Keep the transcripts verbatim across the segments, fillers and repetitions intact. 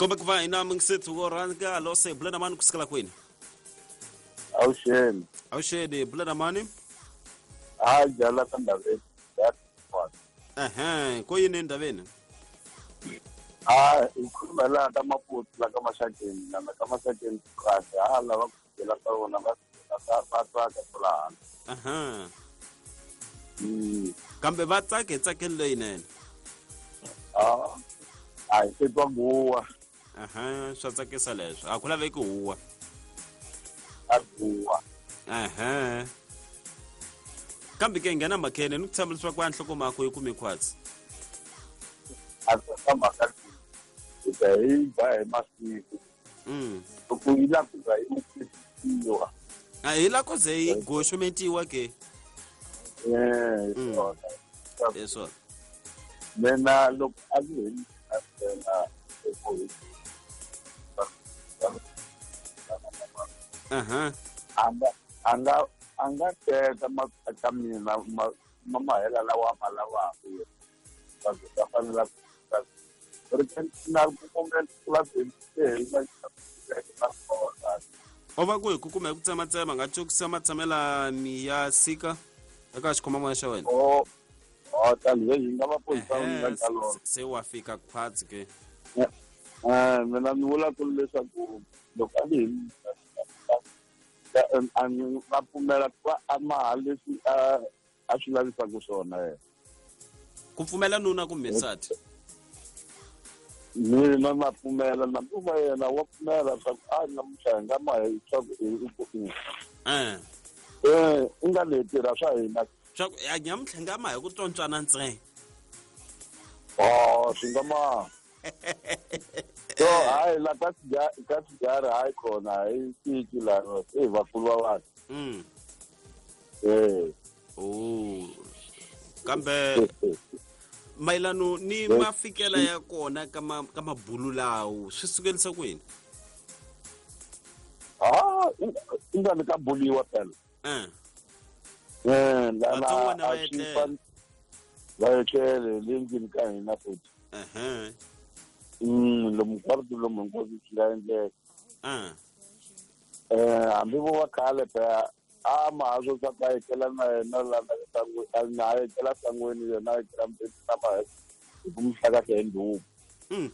Kombe ku va hina mingisethu wo rhanga lo se bula na mani kusukela kwini? Awuxeni. Awuxeni bula na mani? Ha jala ka ndaveni. Ehe, ko yini endaveni? Ha hi khuluma laha ka Maputo la ka Maxakeni, lana ka Maxakeni kahle ha lava ku fikela ka vona va va tsaka kwalano. Aha. Mm. Kambe va tsake tsakelo leyinene. Ah. A hi se twa guwa. Aha, swa tsakisa leswo. A ku laveki huwa. A guwa. Aha. Kambe ke nghena makhene ni ku tshemba leswaku a nhlokomhaka yi kume khwatsi. A swi mhaka hi ta hi ba hi masiku. Mm. Loko yi la ku za yi tisiwa. A hi la ku ze yi goxometiwa ke. Eh, swona. Hi swona. Mina loko a ku hi ntsena Aha. A nga a nga a nga teka ka mina ma ma mahela lawa ma lavaka va va fanela ri na ku kumela va o va ku hi ku kuma hi ku tsematsema nga cokisa matshamelani ya sika eka xikhomamoya xa wena. O o tani hi nga va ponisa nga ka lona. Se wa fika khwatsi ke. Eh mina ni vula ku leswaku loko a ni a ni va pfumela ku va a maha leswi a a swi lavisaka swona yena. Ku pfumela nuna kumbe nsati? Mina na pfumela na ku va yena wa pfumela swa ku a namuntlha hi nga maha swa ku Eh. Eh, i nga le tirha swa hina. Swa ku ya nyamuntlha nga maha hi ku tsontswana ntsena. Oh, swi nga maha. So hayi la ka ka sigara hayi khona hayi tiki la e vakulu va vanhu. Mm. Eh. Oh. Kambe mayelano ni mafikela ya kona ka ma ka mabulu lawo swi sukelisa kwini? Ah, i nga ni ka buliwa phela. Eh. Eh, la Vatsongwana va etlela. Va etlele le ndlwini ka hina futhi. Ehe. Mm, lomu hinkwaswo lomu hinkwaswo swi nga endleka. Eh. Eh, hambi vo va khale phela a maha swo swa ku a etlela na yena la na a etlela sangweni yena a etlela mbhedeni na maha hi ku mi hlakahla hi ndhuku. Mm.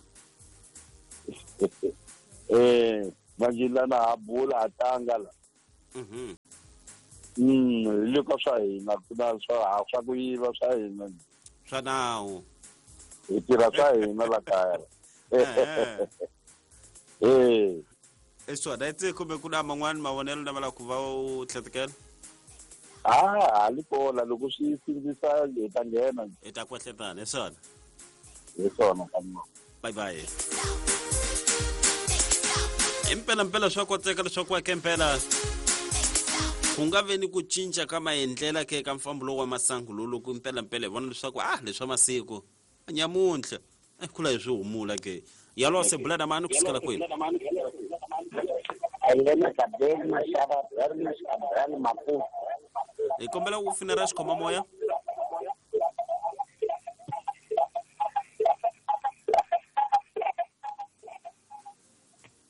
Eh, manje lana ha bula ha tlanga la. Mhm. Mm, hi le ka swa hina ku na swa swa ku yiva swa hina. Swa nawu. Hi tirha swa hina la kaya. Eh. Eh. I swona itse kumbe ku na man'wani mavonelo lama la ku va u tlhetekela? Ah, ha li kona loko swi sindzisa hi ta nghena. Hi ta kwehletana, hi swona. Hi swona ka. Bye bye. Impela mpela swa koteka leswaku wa kempela ku nga ve ni ku cinca ka maendlela ke ka mfambo lowu wa masangu lowu loko impela mpela hi vona leswaku ah leswa masiku nyamuntlha eh kula hi swi humula ke yalo se bula na mani kusukela kwini? Hi kombela ku finera xikhomamoya.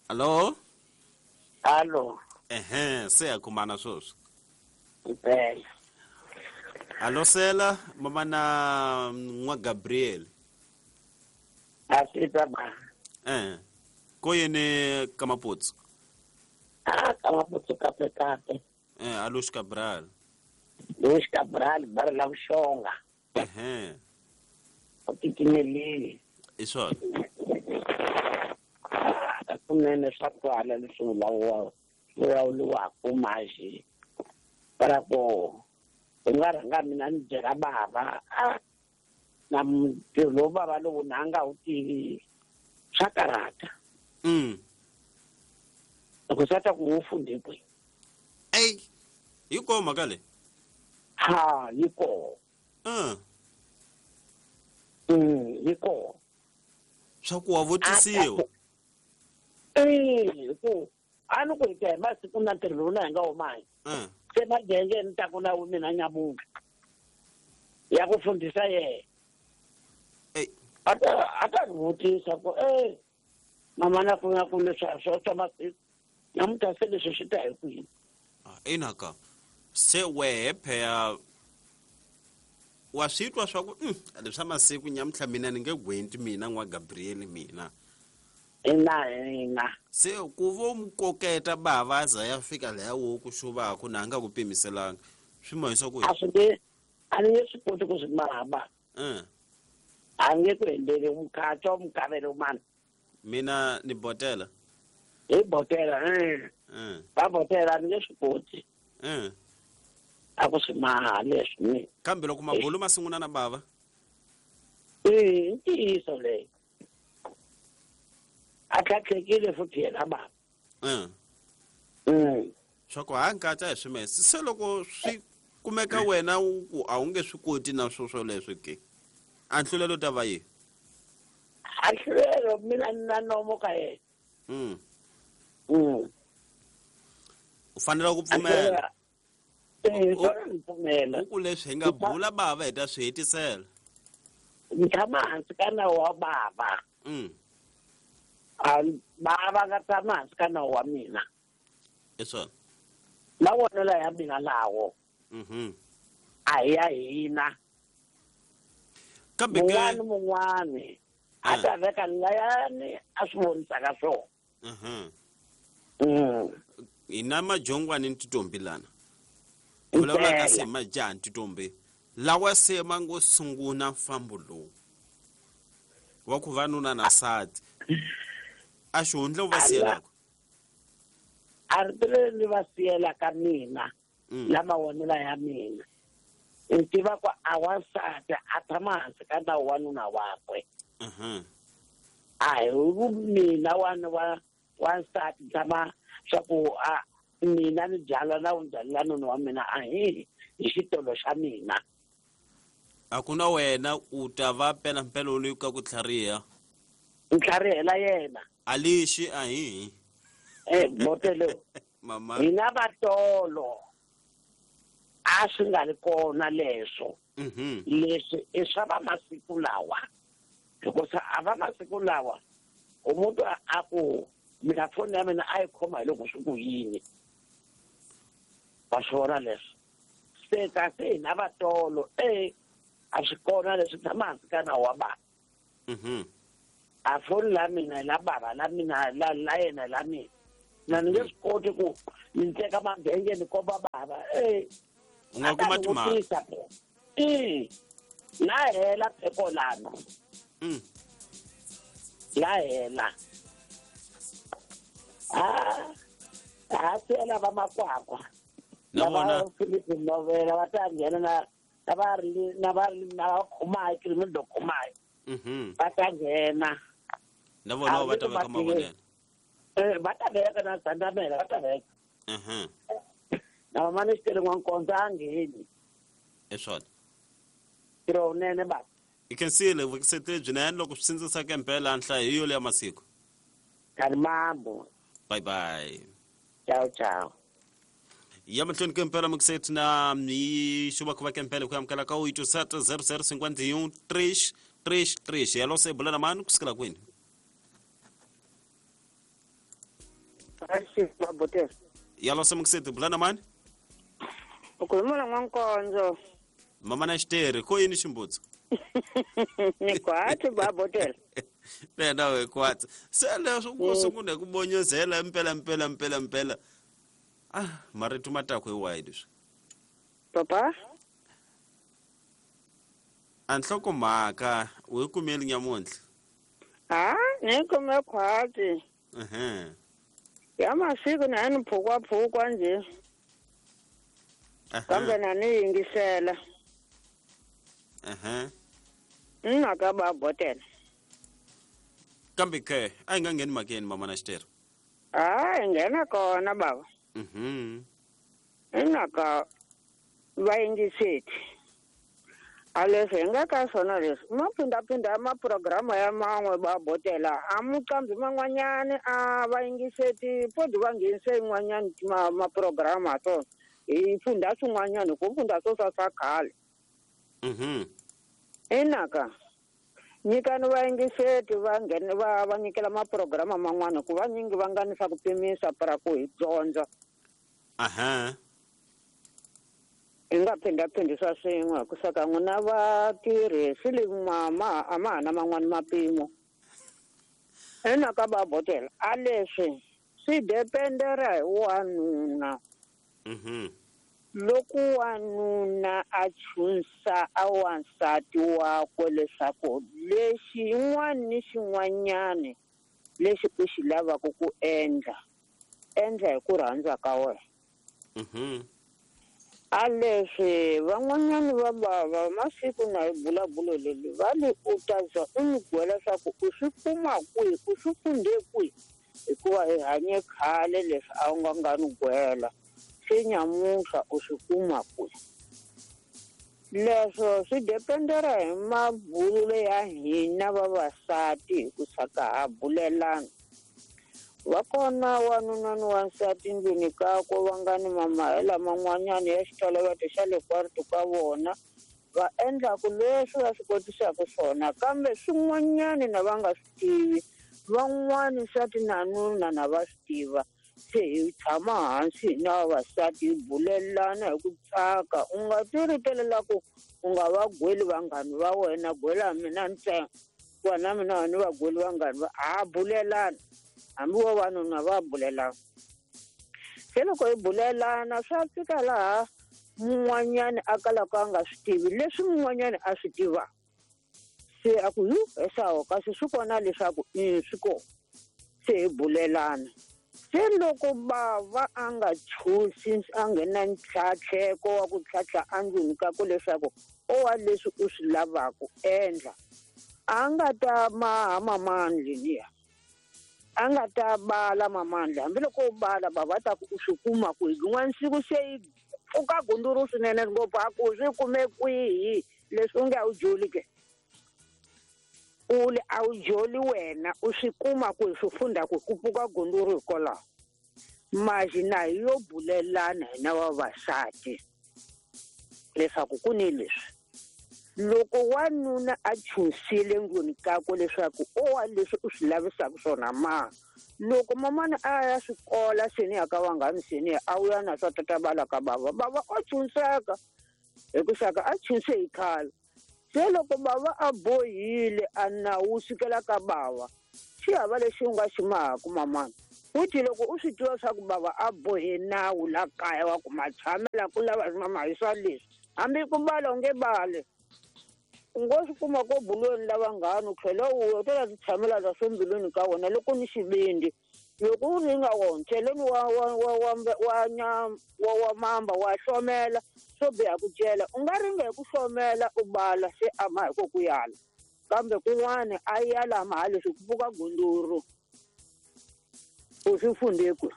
Allo? Allo. Ehe, se ya kumana sweswi. Impela. Allo sela mama na n'wa Gabriel. Asita ba. Eh. Ko yini ka Maputsu? Ah, ka Maputsu kape kape. Eh, Alush Cabral. Lush Cabral bar la Vuxonga. Ehe. U titimelile. I swona. Kunene swa twala leswi vulavuriwaka vulavuriwaka manje. Para ku u nga rhanga mina ni byela bava a na ntirho lowu bava lowu na nga wu tivi swa karhata. Mm. Loko swa ta ku wu fundhe kwihi? Ey, yi kona mhaka leyi? Ha, yi kona. Mm. Mm, yi kona. Swa ku wa vutisiwa. Eh, ku a ni ku hi ta hi masiku na ntirho lowu na hi nga wu mahi. Mm. Se magenge ni ta ku na mina nyamuntlha ya ku fundhisa yena. Ey. A ta a ta ni vutisa ku eh Mama na ku na ku leswi swa swa masiku namuntlha se leswi swi ta hi kwini. Ina ka se wehe pheya wa swi twa swa ku leswa masiku nyamuntlha mina ni nge gwenti mina n'wa Gabriel mina. Ina ina. Se ku vo mu koketa bava za ya fika laha wo ku xuvaku na nga ku pimiselanga swi mahisa ku a swi nge a ni nge swi koti ku swi mahaba. Eh. A nge ku endleli mukhatswa mukavelo mani. Mina ni botela. Hi botela eh. Eh. Va botela ni nge swi koti. Eh. A ku swi maha leswi ni. Kambe loko mabulu ma sungula na bava. Eh, ntiyiso leyi. A tlhatlhekile futhi yena bava. Eh. Mm. Swa ku hankatsa hi swimese se loko swi kumeka wena ku a wu nge swi koti na swo swoleswo ke. A nhlulelo ta va yi. A nhlulelo mina na nomo ka yena. Mm. Mm. U fanele ku pfumela. Eh, u pfumela. Ku leswi hi nga bula bava hi ta swi hetisela. Ni tshama hansi ka nawu wa bava. Mm. A bava nga tshama hansi ka nawu wa mina. I swona. Mavonelo ya mina lawo. Mhm. A hi ya hina. Kambe ke mun'wani mun'wani a ta veka layani a swi vonisaka swona. Mhm. Mm. Hina majongwani ni titombi lana. Vulavula ka se majaha ni titombi lawa se ma ngo sungula mfambo lowu wa ku va nuna na nsati a xihundla u va siyelaka. A ri leri ni va siyelaka mina la mavonelo ya mina ni tiva ku a wansati a tshama hansi ka nawu wa nuna wakwe. Mhm. A hi mina wa wa wansati tshama swa ku a mina ni byala na u byalela nuna wa mina a hi hi xitolo xa mina. A ku na wena u ta va pela mpela loyi ka ku tlhariha. Ntlharihela yena. A lexi a hi. Eh botelo. Mama. Hina vatolo a swi nga ri kona leswo. Mhm. Leswi i swa va masiku lawa. Hikuva a va masiku lawa umuntu a ku mina foni ya mina a yi khoma hi loko swi ku yini. Va swi vona leswi. Se kasi hina vatolo eh a swi kona leswi tshama hansi ka nawu wa bava. Mhm. A foni la mina la bava la mina la la yena la mina. Na ni nge swi koti ku ni teka mabenge ni komba bava eh. U nga kuma timhaka. Eh. La hela pheko lana. Mm. La hela. Ah. Ah, sela va makwakwa. Na vona Philip Novela va ta nghena na na va ri na va ri na khomai criminal khomai. Mhm. Va ta nghena. Na vona va ta veka mavonelo. Eh, va ta veka na Sandamela va ta veka. Mhm. Na mama ni xitele n'wankonzo a ngheni. I swona. Ntirho wunene baba. I khensile vukisete byinene loko swi sindzisaka mpela nhlayo hi yo ya masiku. Kalimambo. Bye bye. Ciao ciao. Ya mahlweni ke mpela mukisete na ni xuva ku va ke mpela ku amukela ka oito sete zero zero cinquenta e um três três três. Yalo se bula na mani kusukela kwini? Yalo se mukisete bula na mani? Ukhuluma n'wankonzo. Mama na xitere ko yini ximbutsa? Ni kwatsi babotela. Lena we kwatsi. Se leswo ku sungula ku bonyozela mpela mpela mpela mpela. Ah, marito matako hi wahi leswi? Papa? A nhlokomhaka u yi kumeli nyamuntlha? Ah, ni kume khwatsi. Mhm. Ya masiku na ni phukwa phukwa nje. Kambe na ni yingisela. Aha. Nna ka babotela. Kambe ke a yi nga ngheni makeni mama na xitere. Ah, nghena kona baba. Mhm. Nna ka va yingiseti. A leswi hi nga ka swona leswi ma phindaphinda maprograma ya man'we babotela a muqambi man'wanyani a va yingiseti podi va nghenise yin'wanyani ma maprograma swona hi funda swin'wanyani ku funda swo swa swa khale. Mhm. Inaka Nyikani vayingiseti va nghene va va nyikela maprograma man'wana ku vanyingi va nga ni swa ku pimisa para ku hi dyondza. Aha. Hi nga phindhaphindhisa swin'we ku saka n'wina vatirhi swi le ma a ma ha na man'wani mapimo. Ena ka babotela a leswi swi dependera hi wanuna. Mhm. Loko wanuna a chunsa a wansati wakwe leswaku lexi yin'wana ni xin'wanyani lexi u xi lavaka ku endla, endla hi ku rhandza ka wena. Mhm. A leswi van'wanyani va bava masiku na hi bulabulo leli va li u ta za u n'wi gwela leswaku u swi kuma kwihi, u swi funde kwihi, hikuva hi hanye khale leswi a wu nga nga ni gwela. Se nyamuntlha u swi kuma kwihi. Leswo swi dependera hi mabululo ya hina vavasati hi ku saka ha bulelana. Va kona wanuna ni wansati ndlwini kakwe va nga ni mamahela man'wanyana ya xitoloveto xa le kwarito ka vona, va endlaku leswi va swi kotisaka swona, kambe swin'wanyani na va nga swi tivi, van'wani nsati na nuna na va swi tiva. Se hi tshama hansi hina vavasati hi bulelana hi ku tsaka. U nga ti ritelela ku u nga va gweli vanghani va wena, gwela mina ntsena, wa na mina ni va gweli vanghani va ha bulelana. Hambi vavanuna va bulelana. Se loko hi bulelana swa fika laha mun'wanyani a kalaka a nga swi tivi leswi mun'wanyani a swi tivaka. Se a ku yu esawo kasi swi kona leswaku i swi kona. Se hi bulelana. Se loko bava a nga chusi a nghena ntlhatlheko wa ku tlhatlha endlwini ka ku leswaku o wa leswi u swi lavaka endla, a nga ta maha mamandli liya. A nga ta bala mamandla, hambiloko u bala bava ta ku u swi kuma kwihi. Rin'wana siku se yi pfuka gunduru swinene ngopfu a ku swi kume kwihi leswi u nge a wu joli ke. U le a wu joli wena u swi kuma kwihi swi funda ku ku pfuka gunduru hikwalaho. Maji na hi yo bulelana hina vavasati leswaku ku ni leswi. Loko wanuna a chunsile ndlwini kakwe leswaku o wa leswi u swi lavisaka swona ma, loko mamana a ya swikola seni ya ka vanghani seni a wu ya na swa tata bala ka bava, bava o chunseka hi ku saka a chunse hi khale. Se loko bava a bohile a nawu sukela ka bava, xi hava lexi u nga xi mahaku mamana. Futhi loko u swi tiva swa ku bava a bohe nawu la kaya wa ku matshamela ku lava mama hi swa leswi, hambi ku bala u nge bali. U ngo swi kuma ko bulweni la vanghani u tlhela u u ta ti tshamela la swo mbilwini ka wena loko ni xivindi. Loko u ringa wona cheleni wa wa wa wa wa nyama wa wa mamba wa hlomela swo biha ku cela. U nga ringa hi ku hlomela u bala se a ma hi ko ku yala, kambe kun'wana a yala ma leswi ku pfuka gunduru u swi funde kwihi.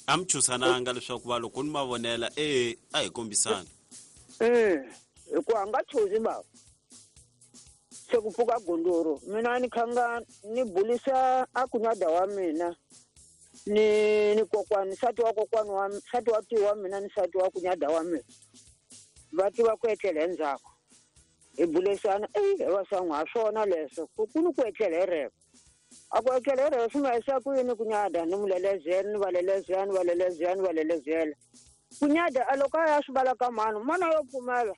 A mi chusananga leswaku va loko ni ma vonela e a hi kombisana. Eh, hikuva a nga chuzi bava. Se ku pfuka gunduru mina ni khanga ni bulisa a kunyada wa mina ni ni kokwani nsati wa kokwani wa nsati wa tiwa mina ni nsati wa kunyada wa mina va tiva ku etlela endzhaku hi bulisana e va san'wa ha swona leswo ku ku ni ku etlela hi reko. A ku etlela hi reko swi nga yisa ku yini kunyada ni mulelezela ni va lelezela ni va lelezela ni va lelezela. Kunyada a loko a ya swi vala ka mhani mana yo pfumela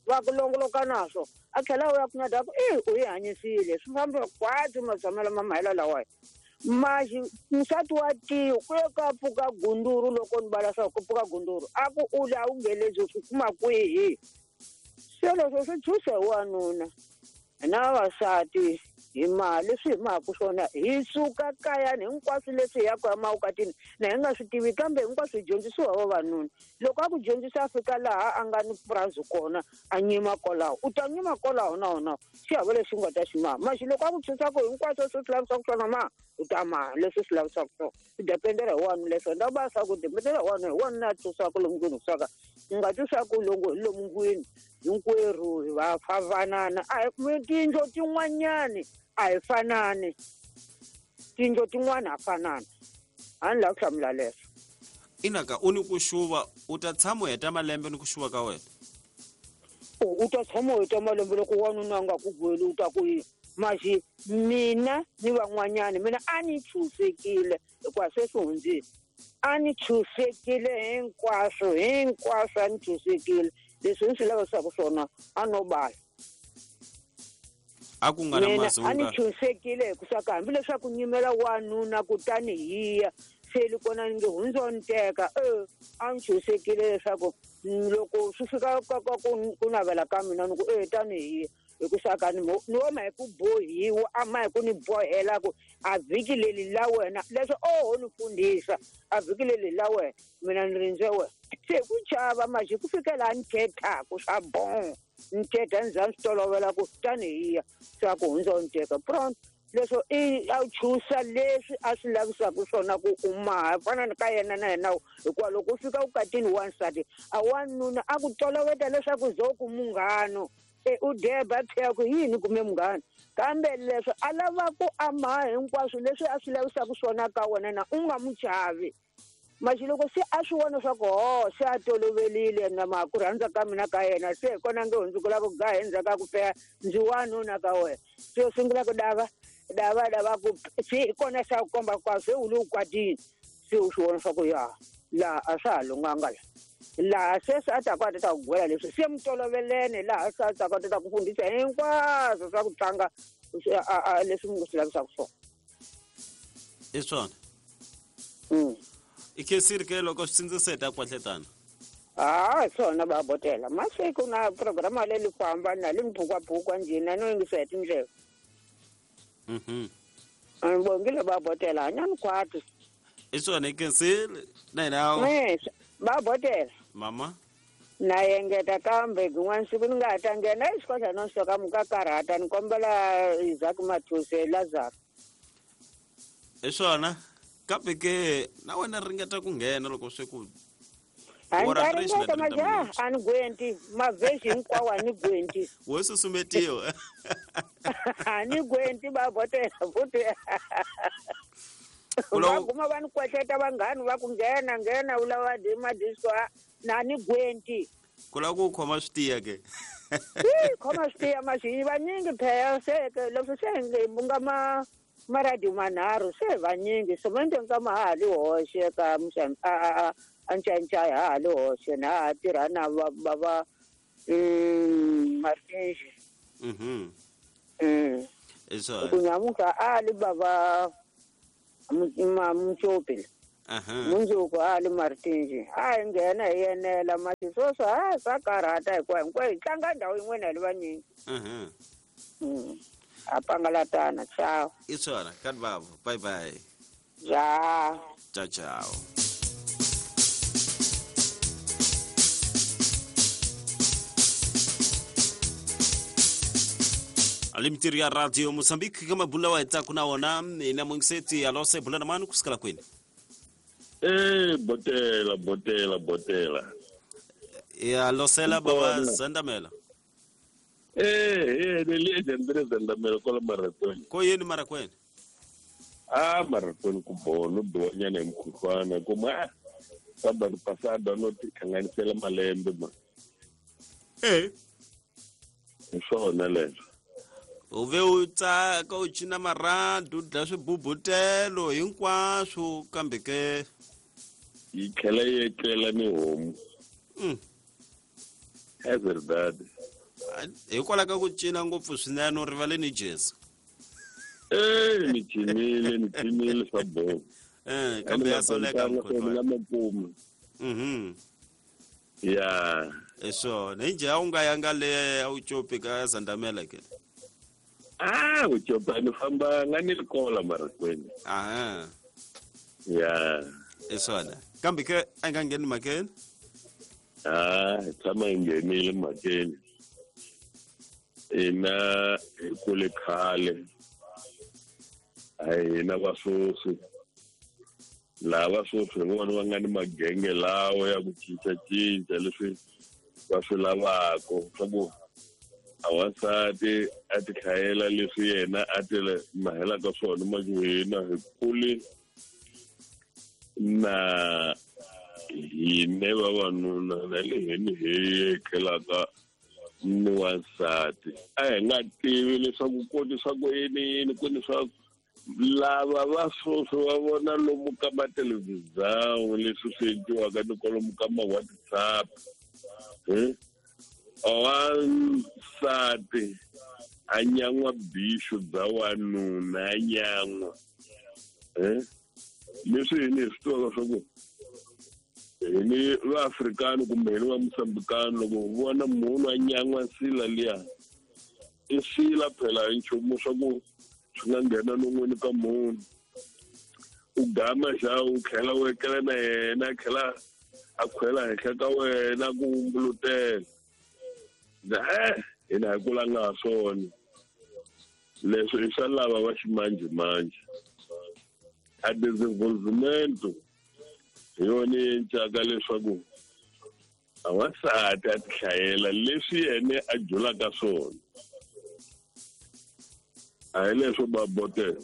va ku longoloka naswo a tlhela u ya kunyada ku e u yi hanyisile swi famba kwatsi matshamelo ma mahela lawa. Maxi nsati wa tiyo ku ye ka pfuka gunduru loko ni vala swa ku pfuka gunduru a ku u la u ngelezi u swi kuma kwihi. Se leswo swi chuse hi wanuna na vavasati hi mali leswi hi mahaku swona hi suka kayani hinkwaswo leswi hi yaka emavukatini na hi nga swi tivi, kambe hinkwaswo hi dyondzisiwa hi vavanuna. Loko a ku dyondzisa a fika laha a nga ni purasi kona a nyima kwalaho, u ta nyima kwalaho na wona xi hava lexi u nga ta xi maha. Maxi loko a ku dyondzisa ku hinkwaswo swi swi lavisaka swona ma u ta maha leswi swi lavisaka swona. Swi dependera hi wanuna leswo na va swa ku dependera hi wanuna hi wanuna a twisaka lomu ndlwini kusaka u nga twisaka longo hi lomu ndlwini hinkwerhu hi va favanana. A hi tindlo tin'wanyani a hi fanani, tindlo tin'wana ha fanana. A ni lava ku hlamula leswo. Inaka u ni ku xuva u ta tshama u heta malembe ni ku xuva ka wena? U ta tshama u heta malembe loko wanuna a nga ku gweli u ta ku yini? Maxi mina ni van'wanyana mina a ni chusekile hikuva se swi hundzile. A ni chusekile hinkwaswo hinkwaswo a ni chusekile leswi ni swi lavisaka swona a no bala. A ku nga na mazunga. A ni chusekile hikuva hambileswaku nyimela wanuna kutani hiya se li kona ni nge hundzo ni teka e a ni chusekile leswaku loko swi fika ka ka ku navela ka mina ni ku e tani hiya hikuva ni ni woma hi ku bohiwa a ma hi ku ni bohela ku a vhiki leri la wena leswi oho ni fundisa a vhiki leri la wena mina ni rindze wena se ku chava maxi ku fikela ni thethaku swa bon ni thetha ni za ni swi tolovela ku tani hiya swa ku hundza ni teka pronto leswo i a chusa leswi a swi lavisaka swona ku u maha fana ni ka yena na yena hikuva loko u fika vukatini wansati a wanuna a ku toloveta leswaku zo ku munghano e u deba tlhela ku yini kume munghana kambe leswi a lava ku a maha hinkwaswo leswi a swi lavisaka swona ka wena na u nga mu chavi maxi loko se a swi vona swa ku ho se a tolovelile na ma ku rhandza ka mina ka yena se hi kona nge hundzukela ku gaha endzhaku ka ku peya ndzi wanuna ka wena se u sungula ku dava dava dava ku se hi kona xa ku komba kwa se u le u kwatini se u swi vona swa ku ya laha a swa ha lunghanga la laha se se a ta ku a ta ta ku gwela leswi se mi tolovelene laha se a ta ku a ta ta ku fundisa hinkwaswo swa ku tlanga leswi mi swi lavisaka swona. I swona i khensile ke loko swi tsindziseta kwahletana. Ah swona va botela masiku na programa leyi ku hambana li mphukwapfukwa njhina no yingisa hi tindleve. Mhm. Ni bongile va botela hanyani khwati. I swona i khensile na hina eh va botela mama na engeta kambe kun'wana siku ni nga ha ta nghena exikolweni no soka mu ka karhata ni kombela Isaac Mathuse Lazaro. I swona kambe ke na wena ringeta ku nghena loko swi ku a ni ringeta majaha a ni gwenti mavhesi hinkwawo a ni gwenti wo susumetiwa a ni gwenti va botela futhi va guma va ni kwetleta vanghani va ku nghena nghena u lava madisco na ni gwenti ku lava ku khoma swi tiya ke khoma swi tiya maxi vanyingi phela se leswi se nge nga ma maradiyo manharhu se vanyingi semende nkama ha ha li hoxe ka a a ncancaya ha ha li hoxe na ha tirha na va va va Martinji. Mhm. Mm. Eso. Ku nyamuka a li bava Mutsopi. Aha. Mundzuku a li Martinji. A hi nghena hi yenela mati sweswo a swa karhata hikuva hinkwayo hi tlanga ndhawu yin'wana hi li vanyingi. Mhm. Mm. A pangalatana ciao. I swona ka bavo. Bye bye. Ja. Ciao ciao. Alimtiri ya Radio Mozambique kama bula wa etaku na wona ina mwengiseti alose bula na manu kusikala kwini. Eh botela botela botela. Ya losela baba Zandamela. Eh eh le le Zandamela kola marakweni. Ko yini marakweni? Ah marakweni ku bono donyana emkhuhlwana kuma sábado passado no tikhanganisela malembe ma. Eh. Swona leswo. U ve u tsaka u cina marhandu u dlaya swibubutelo hinkwaswo kambe ke yi tlhela yi etlela ni homu. Mm. É verdade. Hikwalaho ka ku cina ngopfu swinene u rivale ni Jesu. Eh ni cinile ni cinile swa boho. Eh kambe ya soleka mkhulu. Mhm. Ya. Eso, njhe a wu nga yanga le a wu copi ka Zandamela ke. Ah, u copa ni famba nga ni rikola marakweni. Aha. Ya. Esona. Kambe ke a nga ngheni makeni? Ah, tshama hi nghenile makeni. Ina hi kule khale. A hina va sweswi. Lava sweswi hi vona va nga ni magenge lawa ya ku cincacinca leswi va swi lavaka swa ku a wansati a ti hlayela leswi yena a ti mahelaka swona majuhina hi kule na hine vavanuna na le hini hi khelaka Ni wansati a hi nga tivi leswaku ku ni swa ku yini yini ku ni swa lava va sweswi va vona lomu ka mathelevhizani leswi swi endliwaka ni kwalomu ka ma-WhatsApp. Wansati a nyan'wa bixu bya wanuna a nyan'wa leswi hini hi swi tivaka swa ku hi ni vaafrikani kumbe hi ni va mosambikani loko hi vona munhu a nyan'wa nsila liya i sila phela hi nchumu swa ku swi nga nghena non'wini ka munhu u gama xa u tlhela u etlela na yena a tlhela a khwela henhla ka wena ku wumbulutela e hina hi kulanga ha swona leswi i swa lava va ximanjhemanjhe a desenvolvimento hi yona yi encaka leswaku a wansati a tihlayela leswi yena a dyulaka swona a hi leswo babotela.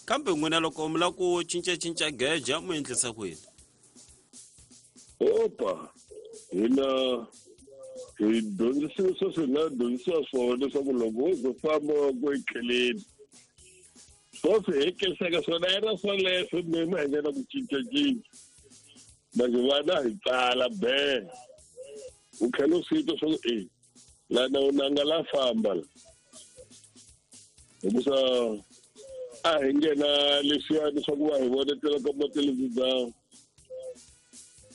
Kambe n'wina loko mi lava ku cincacinca geja mu endlisa ku yini? Opa hina hi dyondzisiwe sweswi hi nga dyondzisiwa swona leswaku loko wo ze famba wa ku etleleni swoswi hi kelisaka swona a yi ra swoleswo mina hi nga na ku cincacinca manje vana hi tsala be u tlhela u swi twa swa ku e lana u nanga la famba la hikusa a hi nghena leswiyani swa ku va hi vonetela ka mathelevhizani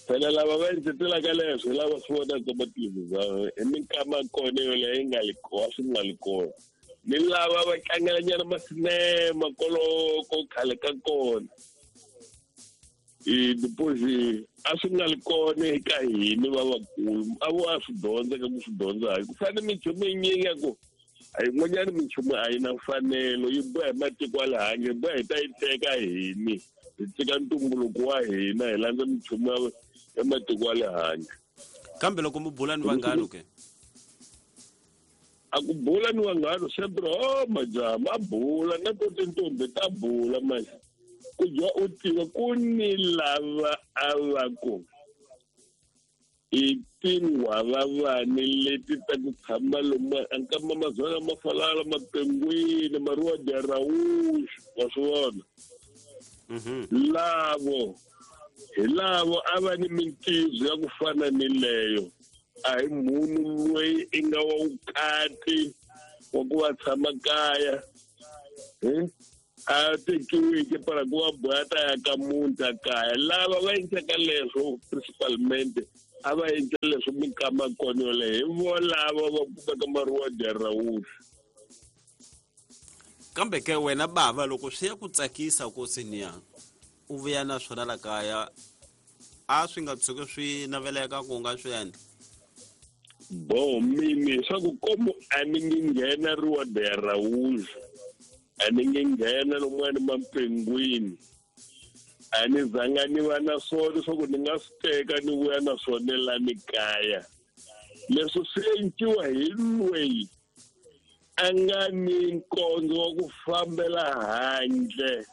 phela lava va endletelaka leswo hi lava swi vonaka mathelevhizani hi minkama kona yoleyo yi nga li kona swi nga li kona ni lava va tlangelanyana masinema koloko khale ka kona i deposit a swi nga li kona eka hina va vakulu a vo a swi dyondza ka ku swi dyondza hayi ku fana minchumu yinyingi ya ku a yin'wanyana minchumu a yi na mfanelo yi boha hi matiko ya le handle yi boha hi ta yi teka hini hi teka ntumbuluko wa hina hi landza minchumu ya matiko ya le handle. Kambe loko mi bula ni vanghano ke? A ku bula ni vanghano sempre o majaha ma bula na to tintombi ta bula manje ku dya u tiva ku ni lava a va ku i tinghwavavani leti ta ku tshama lomu ankama mazwana ma falala mapengwini maruwa dya rawuxu wa swi vona lavo hi lavo a va ni mintizo ya ku fana ni leyo a hi munhu loyi i nga wa vukati wa ku va tshama kaya a tekiweke para ku va boha ta ya ka muti a kaya lava va endlaka leswo principalmente a va endla leswo minkama kona yoleyo hi volava va kumeka maruwa dya rawuxu. Kambe ke wena bava loko swi ya ku tsakisa ku siniya u vuya na swona la kaya a swi nga tshuki swi naveleka ku nga swi endla? Bo mini swa ku komu a ni ngi nghena ruwa dya rawuxu a ni ngi nghena lomuwani mapengwini a ni zanga ni va na swona swa ku ni nga swi teka ni vuya na swona la ni kaya leswi swi enciwa hi loyi a nga ni nkondzo wa ku fambela handle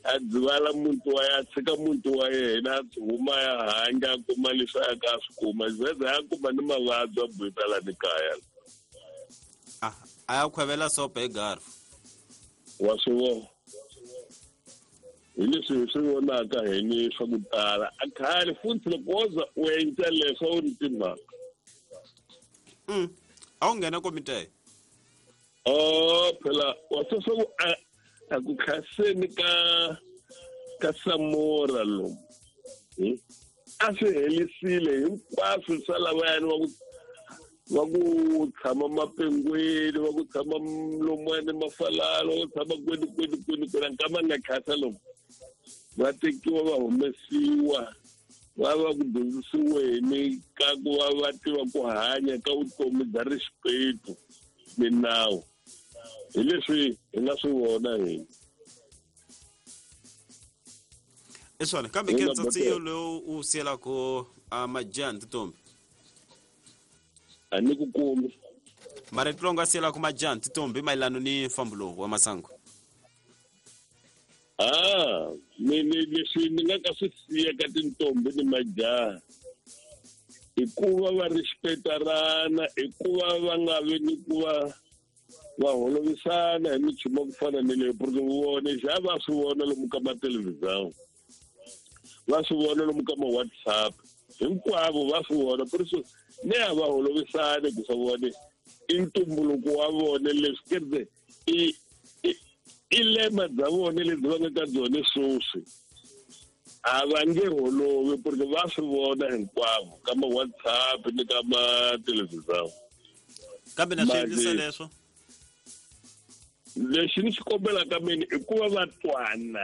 a dzivala muti wa ya tshika muti wa yena a huma ya handle a kuma leswi a ka a swi kuma zeze a kuma ni mavabyi a buyisa la ni kaya a a ya khwevela sopa hi garfu wa swi vona hi leswi hi swi vonaka hi ni swa ku tala a khale futhi loko wo za u endla leswo u ni timhaka a wu nghena komite o phela wa swi swa ku a a ku khaseni ka ka Samora lomu a swi helisile hinkwaswo swa lavayani va ku va ku tshama mapengwini va ku tshama lomuwani mafalalo va ku tshama kwini kwini kwini kwini nkama nga khasa lomu va tekiwa va humesiwa va va ku dyondzisiweni ka ku va va tiva ku hanya ka vutomi bya rixipetu minawu hi leswi hi nga swi vona hina i swona. Kambe ke ntsatsi lowu u siyelaka majaha ni tintombi a ni ku kumi marito lowu nga siyelaka majaha ni tintombi mayelana ni mfambo lowu wa masangu? Ah ni ni leswi ni nga ka swi siya ka tintombi ni majaha I ku va va respectarana, i ku va va nga vi ni ku va va holovisana hi minchumu ya ku fana ni leyo, porque vona xa va swi vona lomu ka mathelevhizão, va swi vona lomu ka ma-WhatsApp, hinkwavo va swi vona. Por isso ne a va holovisani ku swa vone i ntumbuluko wa vona leswi kereke i i lema bya vona lebyi va nga ka byona sweswi. A va nge holovi porque va swi vona hinkwavo ka ma-WhatsApp ni ka mathelevhizão. Kambe na swi endlisa leswo lexi ni xi kombelaka mina i ku va va twana,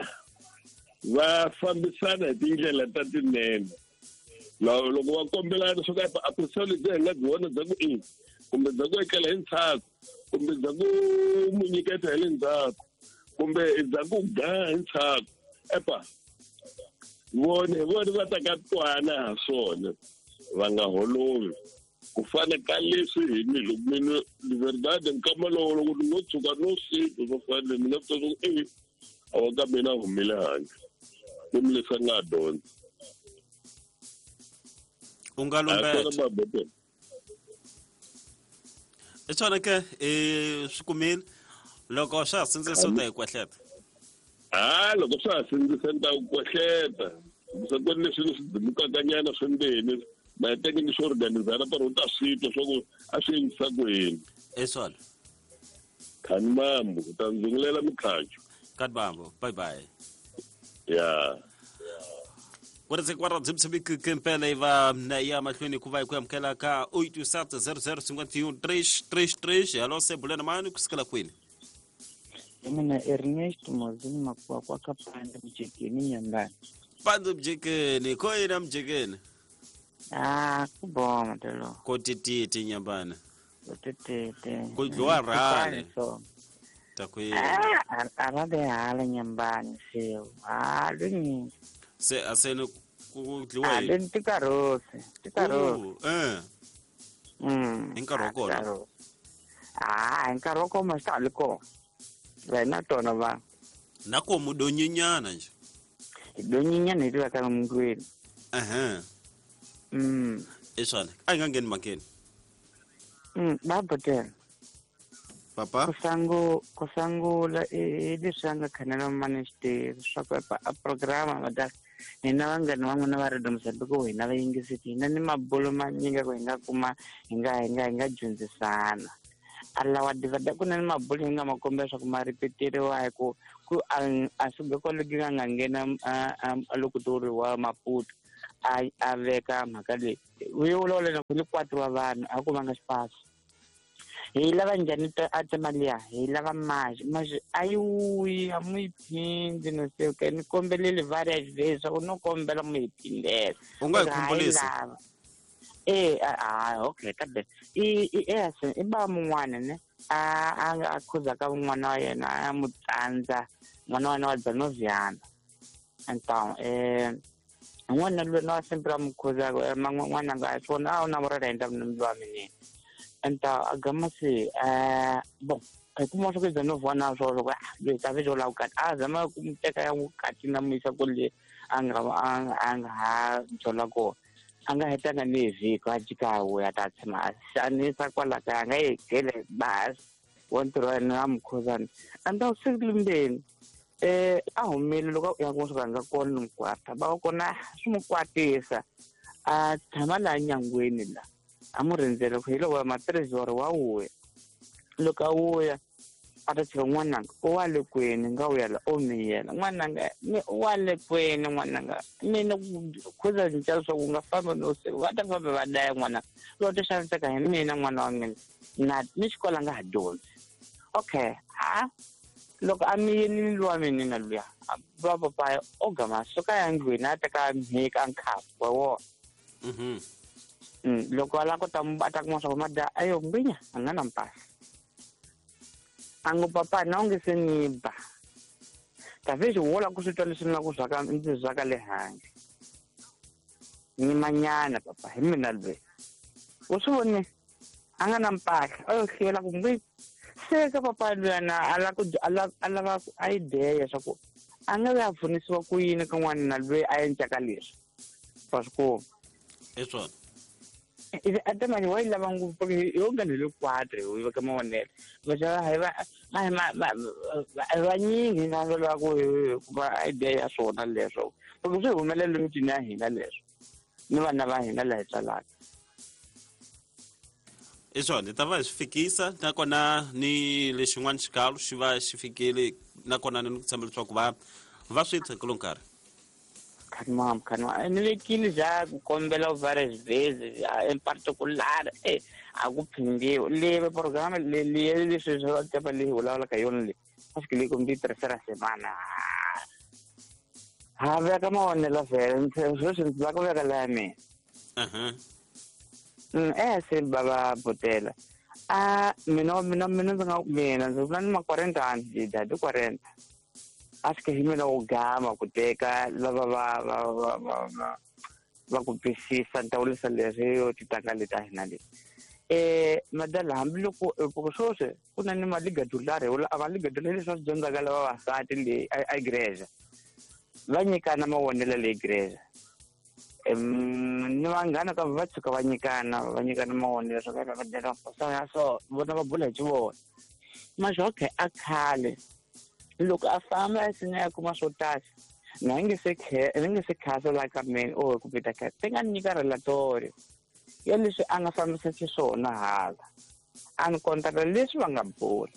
va fambisana hi tindlela ta tinene. Loko va kombelana swo ka a ku lebyi hi nga byi vona bya ku i kumbe bya ku etlela hi ndzhaku, kumbe bya ku mu nyiketa hi le ndzhaku, kumbe bya ku ga hi ndzhaku, epa vona hi vona va ta ka twana ha swona, va nga holovi. Ku fana ka leswi hi ni loko mina de verdade nkama lowo loko ni ngo tshuka no swi swo fana ni nga twa ku e a wa ka mina a humile handle ku ni leswi a nga dyondza. U nga lumbeta i swona ke i swi kumile loko swa ha sindzisa u ta hi kwehleta. Ha loko swa ha sindzisa ni ta ku kwehleta se ku ri leswi swi dimukakanyana swimbeni ma teke ni swi organizana para u ta swi twa swa ku a swi endlisa ku yini. I swona khani mambo u ta ndzungulela mikhacho. Khani mambo, bye bye. Ya kwara dzimtsibikempela iva na ya mahlweni ku va hi ku amukela ka oito sete zero zero cinquenta e um três três três. Alô, sebulena mani kusukela kwini? Mina Ernest Mozini Makuwa kwa Kapande Mjekeni Nyambani. Pande Mjekeni, koyina Mjekeni? Ah, kuboma telo. Kotititi Nyambani. Kotititi. Kudliwa rale. Takwini. Ah, arabe hala Nyambani sio. Ah, lini. Se asene kudliwa yini? Ah, tikarosi, tikarosi. Eh. Mm. Hi nkarhi wa kona. Ah, hi nkarhi wa kona swi ta kona. Wena tona va. Na ko mudonyinyana nje. Donyinyana hi tiva ka mundlwini. Ehe. Mm. I swona. A hi nga ngheni mhakeni. Mm, babotela. Papa? Kusangu kusangula i leswi a nga khanela managed swa ku a programa va hina vanghana van'wana va Radio Mozambique ku hina va yingiseti hina ni mabulo manyingi ku hi nga kuma hi nga hi nga hi nga dyondzisana. A lawa divada ku na ni mabulo hi nga ma kombela swa ku ma ripeteriwa hi ku ku a suka kwale ku nga nghena a loko toriwa Maputo a a veka mhaka leyi u vulavula na ku ni quatro wa vanhu a ku va nga xipasi. Hi lava njhani a mali ya hi lava mali mali a yi wuyi a mu yi phindi no se ke ni kombelele various ways swa ku no kombela mu yi phindela. U nga hi khumbulisa eh ah okay kambe i i i ba mun'wana ne a a a khuza ka n'wana wa yena a mu tsandza n'wana wa yena wa Dzanoviana. Então eh n'wana loyi na sempre a mu khuza n'wana nga swona a wu na murela hi ndhawu wa mina. Então a gama se eh bom hi kuma swa ku Dzanoviana swo loko loyi ta vejo la vukati a zama ku mu teka ya vukati na mu yisa kule a nga a nga ha byela kona. A nga hetanga ni vhiki a jika a vuya ta tshama a xanisa kwala kaya a nga yi gele basi wa ntirho wa yena a mukhuzana. And siku limbeni eh a humile loko ya ku swi nga kona ni mukwata va kona swi mu kwatisa a tshama laha nyangweni la a mu rindzele ku hi loko matirhisi wa wuya loko a wuya a ta tshika n'wananga u wa le kwini nga vuya la o miyela n'wananga mi u wa le kwini n'wananga mina khuza cinca leswaku u nga fambi no se va ta famba va daya n'wananga loko ti xaniseka hi mina n'wana wa mina na ni xikolo a nga ha dyondzi. Okay ha loko a miyelini luwa mina na luya va papaya o gama suka ya ndlwini a teka mhika nkhapu wa wona. Mhm. Mm loko a lava ku ta a ta kuma swa ku mada ayo ngwinya a nga na mpahla. Ango papa na onge se ni ba. Talvez wo la ku swi twa leswi ni la ku zwaka ndzi zwaka le handle. Ni manyana papa hi mina loyi. U swi vone a nga na mpahla a yo hlwela ku ngwi se ka papa luyana a la ku a la a lava a ideya swa ku a nga ya pfunisiwa ku yini ka n'wana loyi a endlaka leswi. Wa swi kuma. I swona. Ata manje wa yi lava ngopfu yo nga ni le quatre hi ka mavonelo va hi va va vanyingi na va ku kuma idea ya swona leswo loko swi humelela emitini ya hina leswo ni vana va hina laha hi tswalaka. I swona hi ta va hi swi fikisa nakona ni lexin'wana xikalo xi va xi fikile nakona ni ku tshemba leswaku va va swi tshekelo nkarhi. Khanimam khanimam ni vekile ja ku kombela u various days in particular eh a ku phindiwe le programa le le leswi swa tapa le vulavulaka yona le a swi le kumbe tirhisela semana ha veka mavonelo vhele sweswi ndzi lava ku veka la ya mina. Eh se baba botela a mina mina mina ndzi nga mina ndzi vula ni ma quarenta ndi dadi quarenta a swi ke hi mina wo gama ku teka lava va va va va va ku twisisa ni ta vurisa leswi yo titanga leti a hina leti eh madala hambiloko loko sweswi ku na ni maligadulari a maligadulari leswi va swi dyondzaka lava vavasati le a igreja va nyikana mavonelo le igreja ni vanghana ka va tshuka va nyikana va nyikana mavonelo swa ka va dyela ya so vona va bula hi xivona masho okay a khale loko a famba a sina ya kuma swo tala na nge se ni nge se khasa la ka mina o ku pita ka ti nga nyika relatorio ya leswi a nga fambisa xiswona hala a ni kontaka leswi va nga bula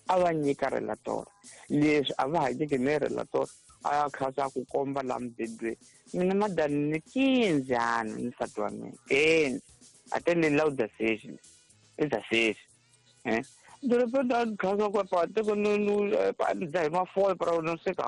a va nyika relatorio leswi a va ha nyiki ni relatorio a ya khasa ku komba la mubedweni mina madani ni kinzani ni nsati wa mina kenzi a te le lauda sexi i da sexi eh de repente a khasa ku pa te ku no no pa dza hi mafole para no se ka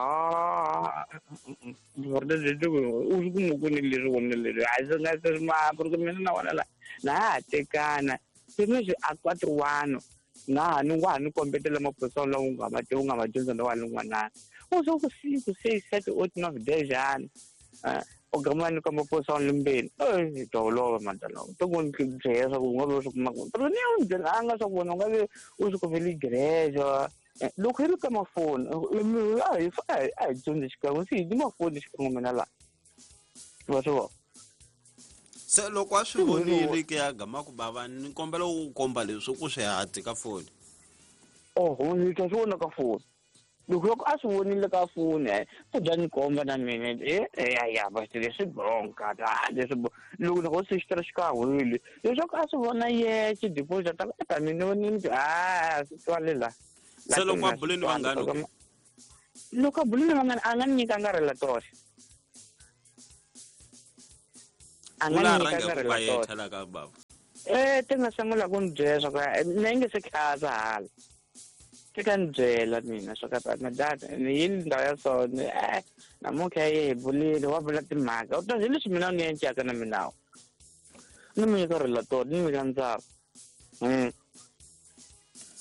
verdade de u swi kuma ku ni leswi vona leswi a swi nga se ma porque mina na wona la na ha tekana se leswi a quatro ano na ha ni wa ha ni kombetela maphorisa lawa u nga ma tivi u nga ma dyondza na wa lin'wanana u swo ku cinco seis sete oito nove dez ano o gama ni komba maphorisa limbeni eh to lova madala to ku ni byela swa ku u nga vi u swi kuma kona pero ni u byelanga swa ku wena u nga vi u swi kumele igreja loko hi ri ka mafoni a hi a hi dyondzi xikan'we se hi ni mafoni xikan'we mina laha wa swi vona. Se loko a swi vonile ke ya gama ku bava ni kombela u komba leswi ku swi hati ka foni. Oho ni ta swi vona ka foni loko loko a swi vonile ka foni u bya ni komba na mina e ya ya va leswi bronka leswi loko loko se xi tirha xikan'wile leswaku a swi vona yexe deposit ta ta mina ni ni a swi twale la. Se loko a bule ni vanghana loko a bule ni vanghana a nga ni nyikanga relatorio a nga ni nyikanga relatorio eh ti nga sungula ku ni byela swa ku na yi nge se khasa hala ti ka ni byela mina swa ka madada ni yini ndhawu ya so ni eh namuntlha yi hi bulile wa vula timhaka u ta hi leswi mina ni encaka na minawu ni mi nyika relatorio ni nyika ndzava.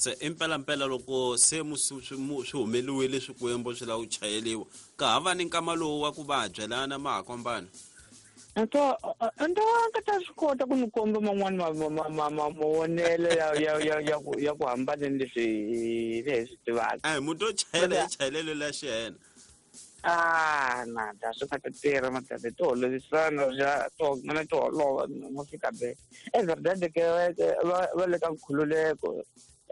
Se impela mpela loko se swi humeliwile swikwembu swi lava ku chayeliwa ka ha va ni nkama lowu wa ku va byelana ma ha kombana nto nto ka ta swi kota ku ni komba man'wani mavonelo ya ya ya ya ku ya ku hambana ni leswi hi hi swi tivaka. Eh muntu o chayela hi chayelelo la xiyena. Ah na ta swi nga ta tirha madada to holovisana ja to mana to holova mo fika be. É verdade que va va le ka nkhululeko